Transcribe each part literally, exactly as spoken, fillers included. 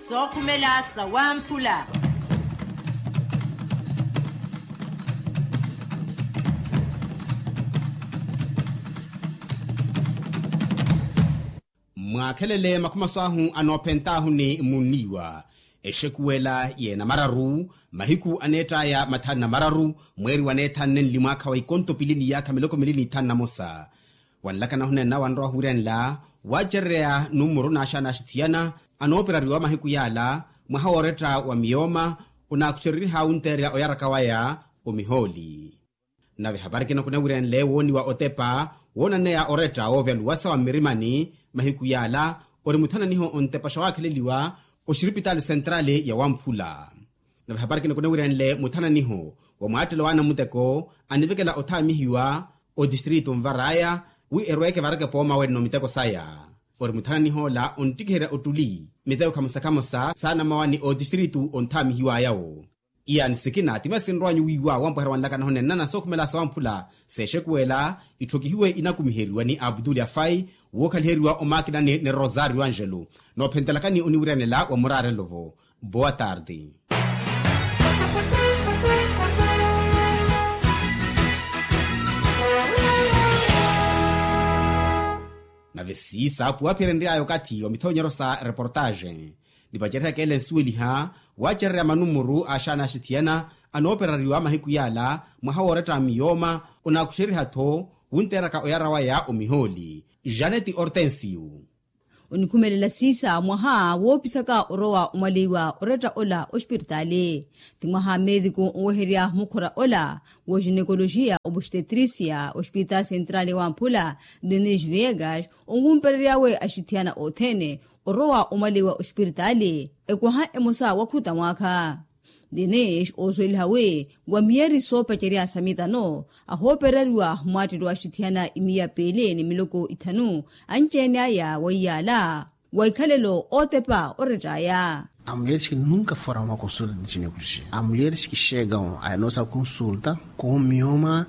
Sookhumela sawamphula. Mwaakhelele makhumaso ahu anoophent'ahu ni munniiwa. Exekuwela yeena mararu mahiku aneett'aya mathanu na mararu, mweeri waneethanne nli mwaakha wa ikonto pili ni yaakha miloko mili n'ithanu na mosa. Wanlakana huneena wanrowa huwiranla waacerereya numuru n'axaana axithiyana anooperariwa mahiku yaala. Mwaha wooretta wa miyooma onaakuxereriha wunteerya oyaraka waya omihooli. Nave hapari kina kunawirenle wooniwa otepa woonaneya oretta woovyaluwasa wa mmirimani mahiku yaala ori muthananiho ontepaxa waakheleliwa oxiripitaali sentrali ya wamphula. Nave hapari kina kunawirenle muthananiho wa mwaattelo w'anamuteko anivekela othaamihiwa otistritu nvar'aya wi erweeke vareke poomawenno miteko saya. Ori muthananih'ola onttikiherya ottuli miteko khamosa khamosa saanamawani otistritu onthaamihiw'ayawo. Iyaani sikina ti masi nrow'anyu wiiwa wampweherya wanlakana honennana sookhumela sawamphula. Seexekuwela itthokihiwe inakumiheriwa ni abduli afai wookhaliheriwa omaakinani ni rosario angelo. Noophentelakani oniwiryanela wa muraarelo-vo. Boa tarde. Nave siisa puwaphiyerenry'aya okathi wa mithonyeryo sa reportaxe. Nipacererya keela ensuweliha waacererya manumuru a axaana axithiyana anooperariwa mahiku yaala mwaha wooretta miyooma. Onaakuxeriha-tho wunteeraka oyara waya omihooli. Janeti hortensio. Onikhumelela siisa mwaha woopisaka orowa omwaleiwa oretta ola ospiritaali. Ti mwaha meetiku oweherya mukhora ola woxinekoloxiya obustetrisia ospiritaali sentrali wamphula denis viegas onwumperery'awe axithiyana othene orowa omwaleiwa ospiritaali. Ekwaha emosa wakhuta mwaakha denis oosuweliha wi wa miyeri soopacerya sa mitano ahoopereriwa mwaattelo axithiyana imiya piili ni miloko ithanu anci-ene aya wa iyaala wa ikhalelo ootepa orett'aya. Amulyeres ki nunka foram a consulta de ginecologia amulyeres ki xeekam a nossa consulta com mioma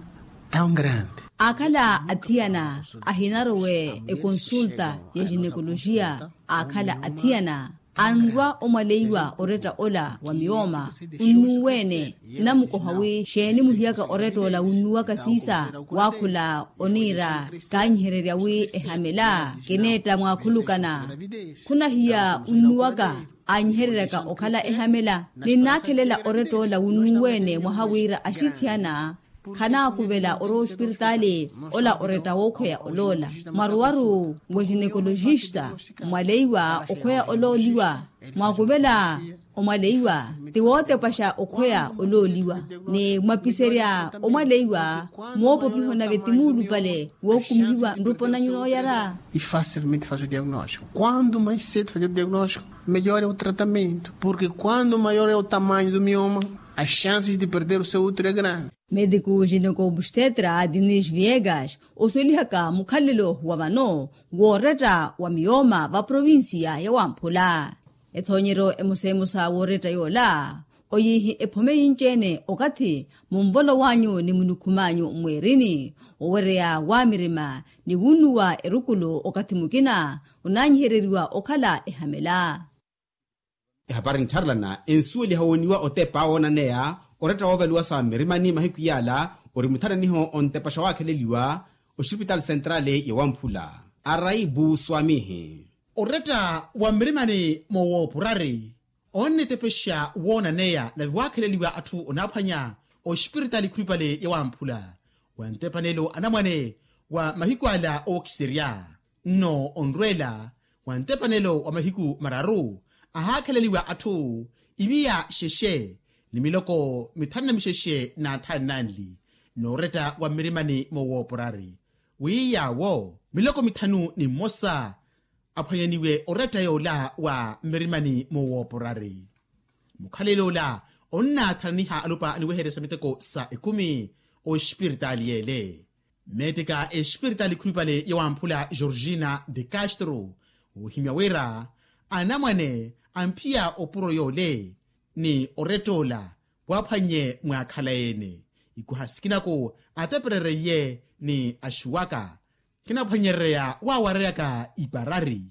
tão grande. Akhala athiyana ahinarowe ekonsulta ya ginecologia akhala athiyana anrwa omwaleiwa oretta ola wa miyooma. Onnuwene namukoha wi xeeni muhiyaka oretta ola wunnuwaka siisa waakhula oniira kaanyihererya wi ehamela kineetta mwaakhulukana. Khunahiya wunnuwaka aanyihereryaka okhala ehamela ninnaakhelela oretta ola wunnuwene mwaha wira axithiyana khanaakuvela orowa ospiritaali ola oretta wookhweya oloola mwaruwaru wa ginecoloxista mwaleiwa okhweya olooliwa. Mwakuvela omwaleiwa ti wootepaxa okhweya olooliwa ni mwapiserya omwaleiwa moopopiho nave ti muulupale wookumihiwa nrupo nanyu nooyara. E facilmente faz o diagnóstico quando mais cedo fazer o diagnóstico melhor é o tratamento porque quando maior é o tamanho do mioma as chances de perder o seu útero é grande. Mediku ginecobstetra dinis viegas osuwelihaka mukhalelo wa vano wooretta wa miyooma va provincia ya wamphula. Ethoonyeryo emosa emosa wooretta yoola oyiihi ephome yinci-ene okathi munvolo w'anyu ni munikhum'anyu mweerini owereya waamirima ni wunnuwa erukulu okathi mukina onaanyihereriwa okhala ehamela. Ehapari nttharelana ensuweliha wooniwa otepa woonaneya oretta woovaluwasa mmirimani mahiku yaala ori muthananiho ontepaxa waakheleliwa oxipitaali sentrali ya wamphula araibu swamihi. Oretta wa mmirimani moowoopurari onnetepexa woonaneya nave waakheleliwa atthu onaaphwanya oxipiritaali khulupale ya wamphula wa ntepanelo anamwane wa mahiku ala ookiserya nno onrweela wa ntepanelo wa mahiku mararu ahaakheleliwa atthu imiya xexe ni miloko mithanu na mixexe n'athanu nanli n'oretta wa mmirimani moowooporari wi yaawo miloko mithanu ni mmosa aphwanyaniwe oretta yoola wa mmirimani moowooporari. Mukhalelo ola onnaathananiha alupa aniweherya sa miteko sa ekumi oxipiritaali yeele. Meeteka exipiritaali khulupale ya wamphula georgina de castro ohimya wira anamwane amphiya opuro yoole ni oretta ola waaphwannye mwaakhala ene ikwaha sikinaku ateperereiye ni axuwaka kinaphwanyerereya waawareyaka iparari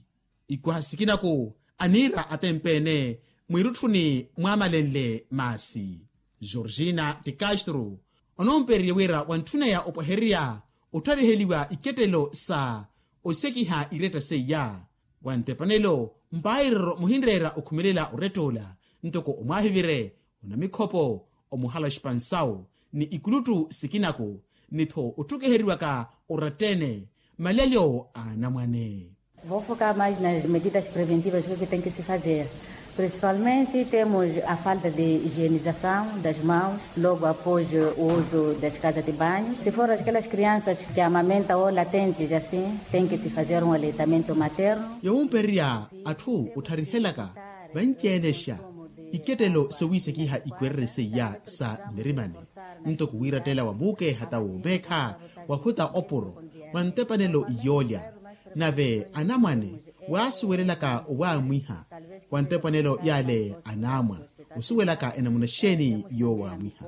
ikwaha sikinaku aniira atempeene mwiirutthuni mwaamalenle maasi. Georgina ti castro onoompererye wira wantthuna ya opwehererya ottariheliwa ikettelo sa osekiha iretta seiya. Wa ntepanelo mpairero muhinreera okhumelela orett'ola ntoko omwaahivire onamikhopo omuhala xipansawu ni ikuluttu sikinako ni-tho otthukiheriwaka oratta-ene malelyo a anamwane. Vou focar mais nas medidas preventivas que tem que se fazer. Principalmente temos a falta de higienização das mãos logo após o uso das casas de banho. Se for aquelas crianças que amamentam ou latentes assim, tem que se fazer um aleitamento materno. Yawumpererya atthu ottharihelaka vanci-enexa ikettelo sowiisekiha ikwererye seiya sa nnirimani ntoko wiirattela wa muukeha ta woomeekha wakhuta opuro wa ntepanelo iyoolya. Nave anamwane waasuwelelaka owaamwiha wa ntepanelo yale anaamwa osuwelaka enamuna xeeni yoowaamwiha.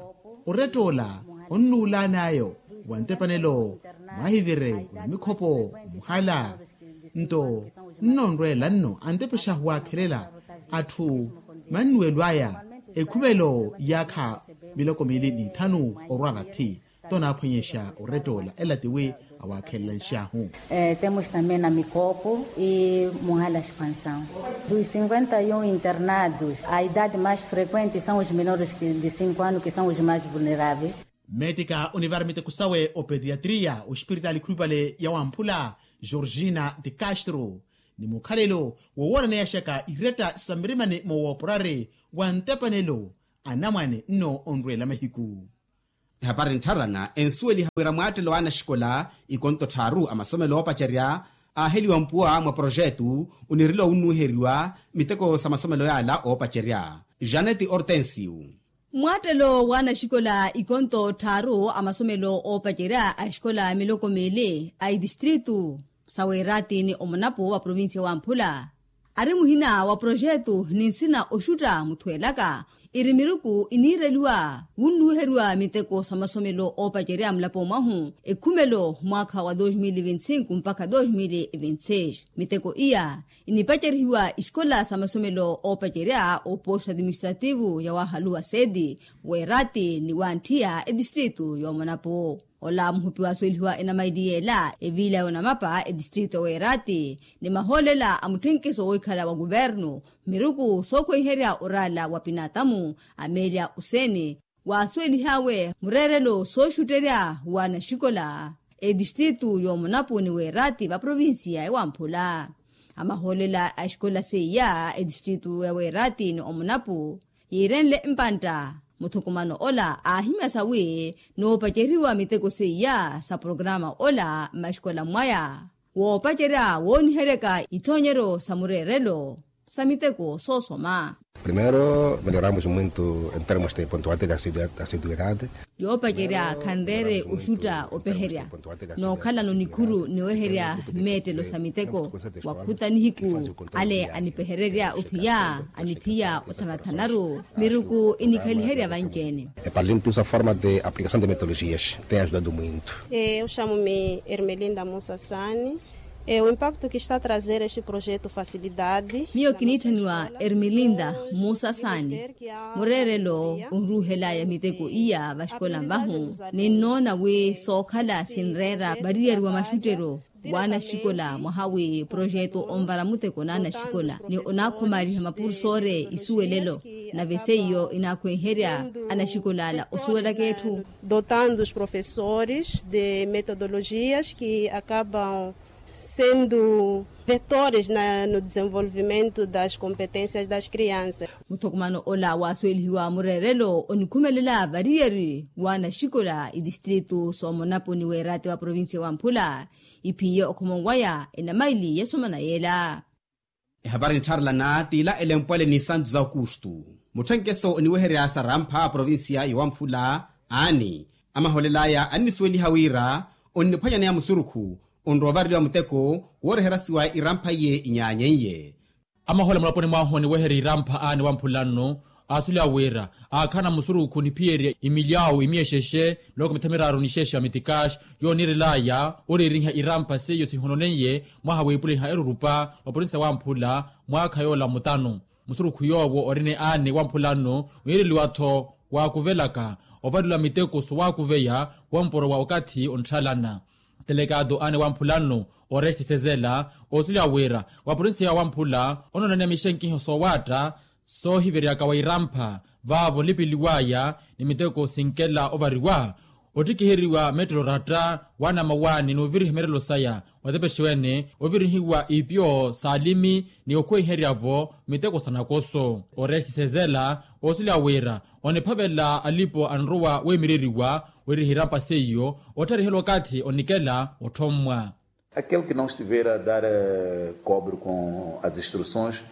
Orett'ola onnuulaan'ayo wa ntepanelo mwaahivire onamikhopo omuhala nto nnonrweela nno antepexa waakhelela atthu mannuwelo aya ekhumelo yaakha miloko miili n'ithanu orwa vathi. Tonaaphwanyexa orett'ola ela tiwi awaakhelela nxaahu. Temos também na mikopo e muhala expansão dos cinquenta e um internados a idade mais frequente são os menores de cinco anos que são os mais vulneráveis. Mmeetika onivara miteko sawe opediatria oxipiritaali khulupale ya wamphula georgina de castro ni mukhalelo woowoonaneyashaka iretta sa mirimani moowoopurari wa ntepanelo anamwane nno onrweela mahiku. Ehapari nttharana ensuweliha wira mwaattelo wa anaxikola ikonto tthaaru a masomelo oopacerya aaheliwa mpuwa mwa poroxetu onireliwa wunnuwiheriwa miteko sa masomelo yaala oopacerya. Janeti hortensio. Mwaattelo wa anaxikola ikonto tthaaru a masomelo oopacerya a exikola miloko miili a itistritu sa weeraati ni omonapo wa provincia wa mphula ari muhina wa poroxetu ni nsina oxutta muthweelaka iri miruku iniireliwa wunnuwiheriwa miteko sa masomelo oopacerya mulapo mwahu ekhumelo mwaakha wa dos mil vinti cinco mpakha dos mil vinti seis. Miteko iya inipacerihiwa ixikola sa masomelo oopacerya oposto administrativo ya wahaluwa seti weeraati ni wantthiya etistritu yoomonapo. Ola muhupi waasuwelihiwa enamaili yeela eviila yoonamapa etistritu ya weeraati ni mahoolela a mutthenkiso woohikhala wa kuvernu miruku sookhweiherya oraala wa pinatamu amelia useni waasuwelihaawe mureerelo sooxutterya wa anaxikola etistritu yoomonapo ni weeraati va provincia ewamphula. Amahoolela a exikola seiya etistritu ya weeraati ni omonapo yiirenle mpantta muthukumano ola aahimyasa wi noopaceriwa miteko seiya sa programa ola mmaxikola mwaya woopacerya wooniheryaka ithoonyeryo sa mureerelo sa miteko soosoma. Primero melhoramos muito em termos de pontualidade de assiduidade. Yoopacerya khanreere oxutta opeherya nookhalano nikhuru niweherya mmeettelo sa miteko wakhuta nihiku ale anipehererya ophiya aniphiya othanathanaru miruku inikhaliherya vanci-ene. Epallintusa forma de aplicação de metodologias tem ajudado muito. Eu chamo-me ermelinda musa sani. O impacto que está a trazer este projeto facilidade. Miyo kiniitthaniwa ermelinda musa sani mureerelo onruuhelaya miteko iya vaxikola mvahu ninnoona wi sookhala sinreera variyari wa maxutteryo wa anaxikola mwaha wi projeto onvara muteko na anaxikola ni onaakhomariha mapursore isuwelelo nave seiyo inaakhwenherya anaxikola ala osuwelaka etthu. Dotando os professores de metodologias que acabam sendo vetores no desenvolvimento das competencias das crianças. Muthukumano ola waasuwelihiwa mureerelo onikhumelela variyari wa anaxikola itistritu soomonapo ni weeraati wa provincia wa mphula iphiye okhomowaya enamaili yasomana yeela. Ehapari nttharelana t'ila elempwale ni santu za okustu mutthenkeso oniweherya sarampha provincia yowamphula aani amaholel'aya annisuweliha wira onniphwanyaneya musurukhu onrowa ovareliwa muteko wooreherasiwa irampha iye inyaanyeiye. Amahola mulaponi mwahu oniweherya irampha aani wamphula nnu Aasulya wira aakhana musurukhu niphiyerya imilyawu imiyexexe miloko mitha miraaru nixexe ya mitikaxi, yooniirelaya oreeriha irampha seiyo sihononeiye mwaha wiipuliha erurupa wa porinsi ya wamphula mwaakha yoola mutanu. Musurukhu yoowo orina aane wamphula nno wiireliwa-tho waakuvelaka ovariwa miteko sowaakuveya womporo wa okathi ontthaalana. Telekato aane wamphula nno orexi sezela oosulya wira wa porinsi ya wamphula onoonaniya mixenkiho soowaatta soohiveryaka wa irampha vaavo nlipeliwaya ni miteko sinkela ovariwa. Ottikiheriwa mettelo ratta waanamawaani n'uviriha mirelo saya watepexiwene ovirihiwa ipyo s'alimi ni okhuweiherya-vo miteko sa nakoso. Orexi sezela oosulya wira oniphavela alipo anrowa weemireriwa weriha irampa seiyo ottarihela okathi onikela otthommwa. Aquele que não estiver a dar cobre com as instruções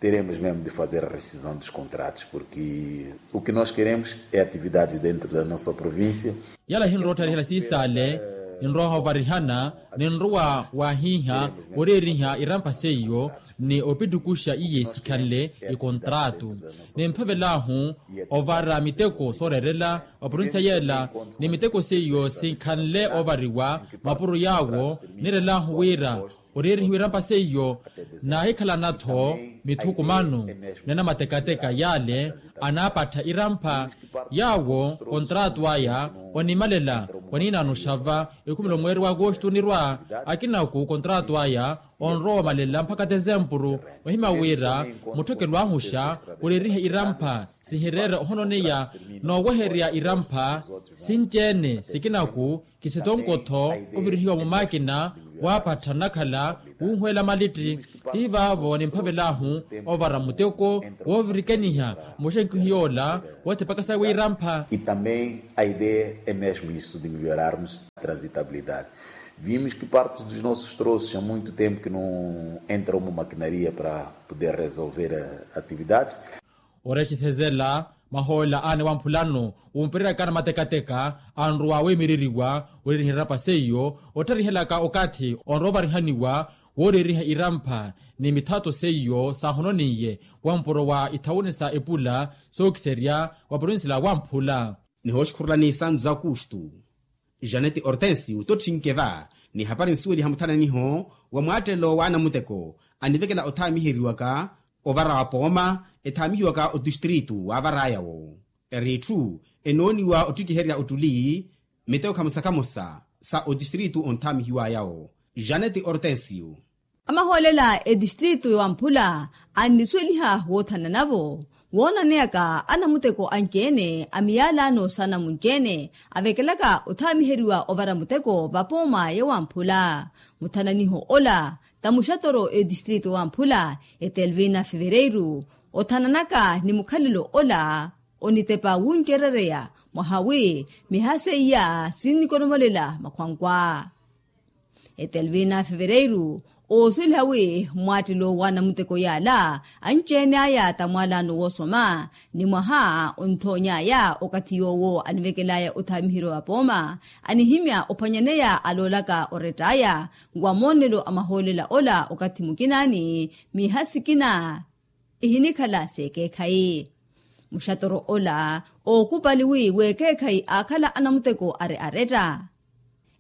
teremos mesmo de fazer a rescisão dos contratos porque o que nós queremos é atividades dentro da nossa província. Yala ehinrowa ottarihela siisaale ninrowa ovarihana ninrowa waahiiha oreeriha irampa seiyo ni opittukuxa iye sikhanle ikontraatu. Nimphavel'ahu ovara miteko sooreerela wa porinsiya yeela ni miteko seiyo sinkhanle oovariwa mapuro yaawo. Niirel'ahu wira oreerihiwa irampa seiyo naahikhalana-tho mithukumano ni anamatekateka yaale anaapattha irampha yaawo kontraatu aya onimalela waniinaano oxava ekhumelo mweeri w'akoxtu onirwa akinaku kontraatu aya onrowa omalela mpakha tezempuru ohimya wira mutthekelo ahuxa oreeriha irampha sihireera ohononeya nooweherya irampha sinci-ene sikinaku kisitonkotho ovirihiwa mumaakina waapattha nnakhala wuuhweela malitti. Ti vaavo nimphavel'ahu ovara muteko woovirikeniha muxenkihi yoola woothipaka sawe irampha. E também a ideia é mesmo isso de melhorarmos a transitabilidade. Vimos que parte dos nossos troços há muito tempo que não entra uma maquinaria para poder resolver atividades. Orexisezela mahoolela aane wamphulano wumpireryaka anamatekateka anrowa weemireriwa wereeriha irampa seiyo ottharihelaka okathi onrowa ovarihaniwa wooreeriha irampha ni mithato seiyo saahononiye wampuro wa ithawuni sa epula sookiserya wa provincia la wamphula. Nihooxikhurulani isantu za kustu janeti ortensi utotthinke va ni hapari nsuweliha muthananiho wa mwaattelo wa anamuteko anivekela othaamiheriwaka ovara wa pooma ethaamihiwaka otistritu waavaraya-wo eri etthu enooniwa ottikiherya ottuli miteko khamosa khamosa sa otistritu onthaamihiwaya-wo janeti ortensiyu. Amahoolela etistritu ya wamphula annisuweliha woothanana-vo woonaneyaka anamuteko anci-ene a miyaalaano sa namunci-ene avekelaka othaamiheriwa ovara muteko vapooma ya wamphula. Muthananiho ola ta muxatoro etistritu ya wamphula etelvina fevereiru othananaka ni mukhalelo ola onitepa wuncerereya mwaha wi miha seiya sinnikonomolela makhwankwa. Etelvina fevereiru oosweliha wi mwaattelo wa anamuteko yaala anci-ene aya ta mwaalaano woosoma ni mwaha onthoony'aya okathi yoowo anivekel'aya othaamiheriwa vapooma anihimya ophwanyaneya aloolaka orett'aya wa moonelo a mahoolela ola okathi mukinaani miha sikina ihinikhala s'ekeekhayi. Muxatoro ola ookupali wi w'ekeekhayi aakhala anamuteko ari aretta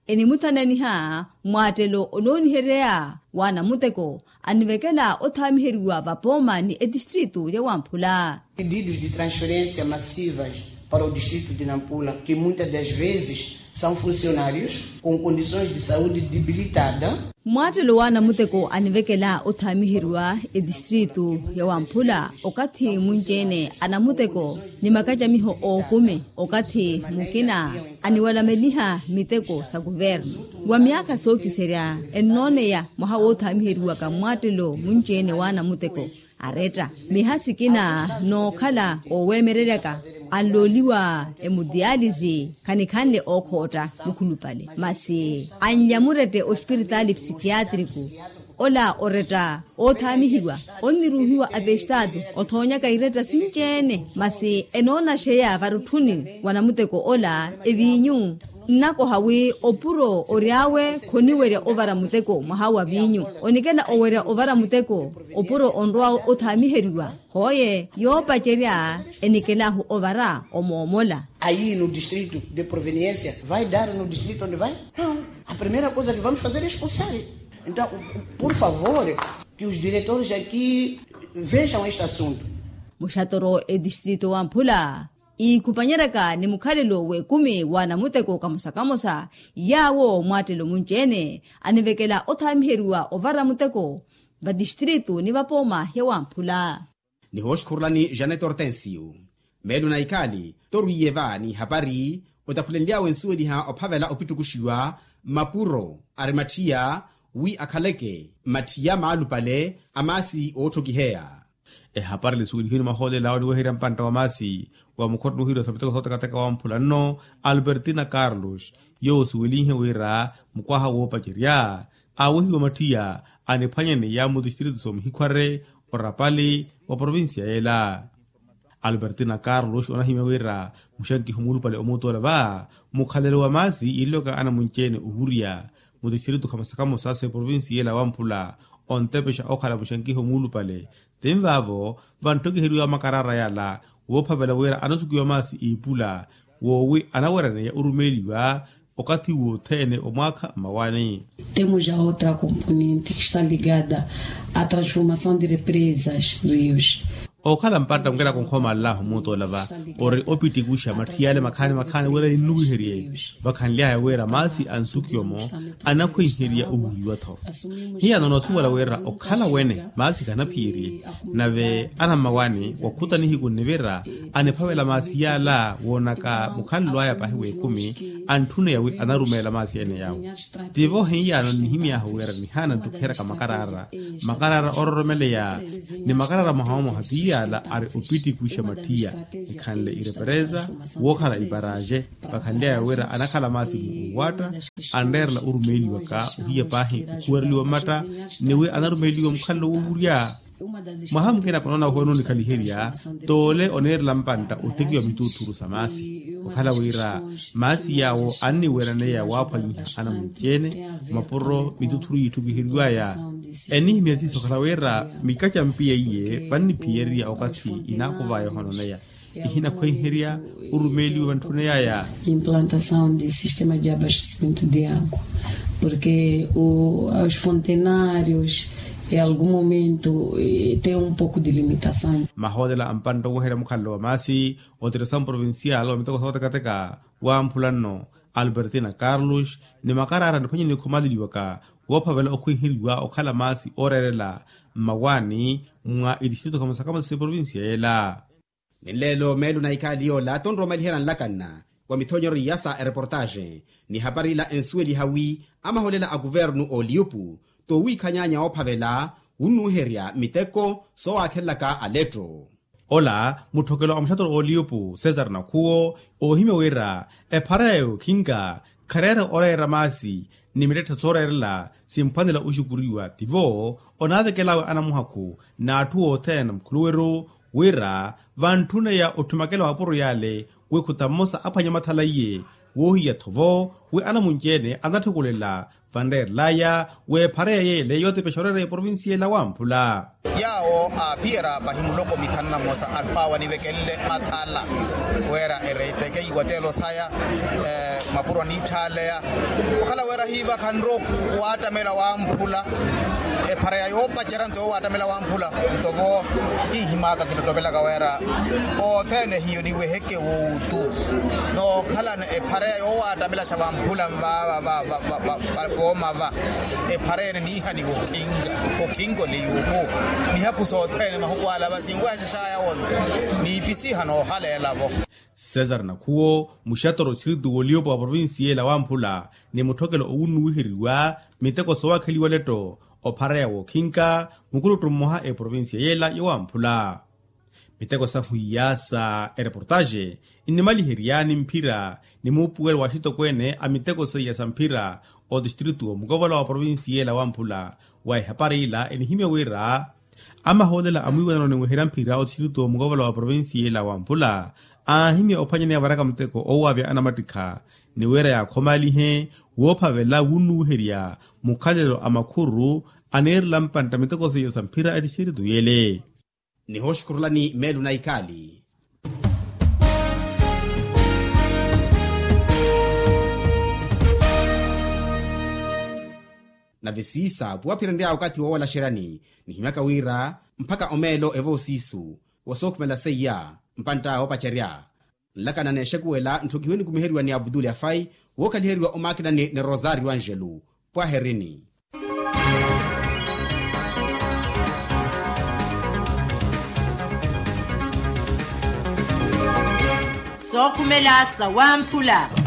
enimuthananiha mwaattelo onoonihereya wa anamuteko anivekela othaamiheriwa vapooma ni etistritu ya wamphula. Pedidos de transferência massivas para o distrito de nampula que muitas das vezes são funcionários com condições de saúde debilitada. Mwaattelo wa anamuteko anivekela othaamiheriwa etistritu ya wamphula okathi munci-ene anamuteko ni makacamiho ookumi okathi mukina aniwalameliha miteko sa kuvernu wa myaakha sookiserya ennooneya mwaha woothaamiheriwaka mwaattelo munci-ene wa anamuteko aretta miha sikina nookhala ooweemereryaka anlooliwa emudiyalisi khanikhanle ookhootta mukhulupale masi anlya murette ospiritaali psikiyatriku ola oretta oothaamihiwa onniruuhiwa atestaatu othoonyaka iretta sinci-ene masi enoonaxeya varutthuni wa namuteko ola eviinyu Nnakoha wi opuro ori awe khoniwerya ovara muteko mwaha wa viinyu. Onikela owerya ovara muteko opuro onrwa othaamiheriwa. Hooye yoopacerya enikelahu ovara omoomola. Ayi no distrito de proveniensia vai dar no distrito onde vai? Não. A primeira coisa que vamos fazer é expulsar. Então, por favor, que os diretores aqui vejam este assunto. Muxatoro etistrito wa mphula iikhupanyeryaka ni mukhalelo w'ekumi wa anamuteko kamosa kamosa yaawo mwaattelo munci-ene anivekela othaamiheriwa ovara muteko vatistrito ni vapooma hewamphula. Nihooxukhurulani janet hortensio meelo na ikhaali torwiiye va n'ihapari otaphulenly'awe nsuweliha ophavela opittukuxiwa mapuro ari matthiya wi akhaleke matthiya maalupale a maasi ootthokiheya. Ehapari nisuwelihiwe ni mahoolela awo niweherya mpantta wa maasi wa mukhotto nuhiriwa sa miteko sootekateka wamphula nno albertina carlos yoowo osuwelinhe wira mukwaha woopacerya aawehiwa matthiya aniphwanyaneya mutistrito soomihikhware orapali wa provincia yeela. Albertina carlos onahimya wira muxankiho muulupale omuutola va mukhalelo wa maasi iilyoka anamunci-ene owurya mutistrito khamosa khamosa s'eprovincia yeela wamphula ontepexa okhala muxankiho muulupale. Tinvaavo vanttokiheriwa makaraara yala woophavela wira anasukiwa maasi iipula woowi anawereneya orumeeliwa okathi wothene omwaakha mmawani. Temos a outra componente que está ligada à transformação de represas rios. Okhala mpantta mukela kunkhomaalalahu muutoola va ori opitikuxa matthiyale makhaani makhaani wira ninnuwiherye vakhanly'aya wira maasi ansukiwa-mo anakhwenherya owuliwa-tho. Hiyano noosuwela wira okhala wene maasi khanaphiyerye nave anammawani wakhutanihiku nnivira aniphavela maasi yaala woonaka mukhanlwaya pahi w'ekumi antthuneya wi anarumeela maasi ene yaawo. Tivo hiyano nnihimy'ahu wira nihaana nttukheraka makaraara makaraara ororomeleya ni makaraara mwaha omoha ti yaala ari opitikuxa matthiya ekhanle irepereza wookhala iparaxe vakhanly'aya wira anakhala maasi mu uwatta anreerela orumeeliwaka ohiya paahi okhuwereliwa mmatta ni wi anarumeeliwa mukhalelo woowurya. Mwaha mukina panoona ohoona onikhaliherya toole oniirela mpantta otekiwa mituuthuru sa maasi okhala wira maasi yaawo anniweraneya waaphwanyiha anamunci-ene mapuro mituuthuru yiitthukiheriwaya. Enihimya siiso okhala wira mikaca mpiya iye vanniphiyererya okathi inaakuvaya ohoononeya ihinakhwenherya orumeeliwa vantthuna yaya. Implantação de sistema de abastecimento de água porque os fontenários em algum momento tem um pouco de limitação. Mahoolela a mpantta oweherya mukhalelo wa maasi otirisa mprovincial wa miteko sootekateka wamphula nno albertina carlos ni makaraara niphwanyeni nikhumaleliwaka woophavela okhwenheriwa okhala maasi ooreerela mmawaani mwa itistrito khamosa khamosa s'eprovincia yeela. Ni nleelo meelo na ikhaali yoola tonroomaliherya nlakanna wa mithonyero iya sa ereportaxe ni hapari ila ensuweliha wi amahoolela a kuvernu ooliyupu toowiikhanyaanya woophavela wunnuuherya miteko soowaakhelelaka aletto. Ola mutthokelo a muxatoro ooliyupu cesar nakhuwo oohimya wira ephara ya yookhinka khareera oreera maasi ni mittetthe sooreerela simphwanela oxukuriwa tivo onaavekel'awe anamuhakhu n'atthu othene mukhuluweru wira vantthuneya otthumakela mapuro yale wi khuta mmosa aphwanya mathala iye woohiya-tho vo wi anamunci-ene anatthikulela vanreerel'aya w'ephara ya yeele yootepexa oreera eprovincia ela wamphula. Yaawo aaphiyerya pahi muloko mithanu na mmosa atthu awo anivekenle mathala wira ereiteke iwatelo saya mapuro aniitthaleya okhala wira hiivakhanre waattamela wamphula. Ephara ya yoopacerya nto yoowaattamela wamphula nto vo kinhimaka kinottovelaka wira othene hiyo niweheke wuutu nookhalana ephara ya yoowaattamelaxa vamphula nvaava va pooma va ephara ene niihaniwa okhinka okhinka oliyuuku mihaku sothene mahuku ala va sinwehaxaxaya wonto niipisiha noohaleela-vo. Cesar nakhuwo muxatoro oxiritu w'oliyupo wa provincia yeela wamphula ni mutthokelo owunnuwiheriwa miteko soowakheliwa letto ophareya wookhinka mukuluttu mmoha eprovincia yeela yowamphula. Miteko sahu iya sa ereportaxe nnimaliherya ni mphira ni muupuwelo wa axitokweene a miteko seiya sa mphira otistritu omukovola wa provincia yeela wamphula wa ehapari ila enihimya wira Amahoolela a mwiiwanano niweherya mphira othirito mukovola wa provincia ela wa mpula aahimya ophwanyaneya varaka muteko owaavya anamattikha ni wira yaakhomalihe woophavela wunnuwiherya mukhalelo a makhururu aneerela mpantta miteko seiya sa mphira etixirito yele. Nihooxukhurulani meelu na ikaali. Nave siisa puwaphirenrya wakathi woowalaxeryani nihimyaka wira mpakha omeelo evo siisu wa sookhumela seiya mpantta woopacerya nlakana n'exekuwela ntthokihiwe nikumiheriwa ni abdul afai wookhaliheriwa omaakinani ni rosario angelo. Pwaherini. Sookhumela sawamphula.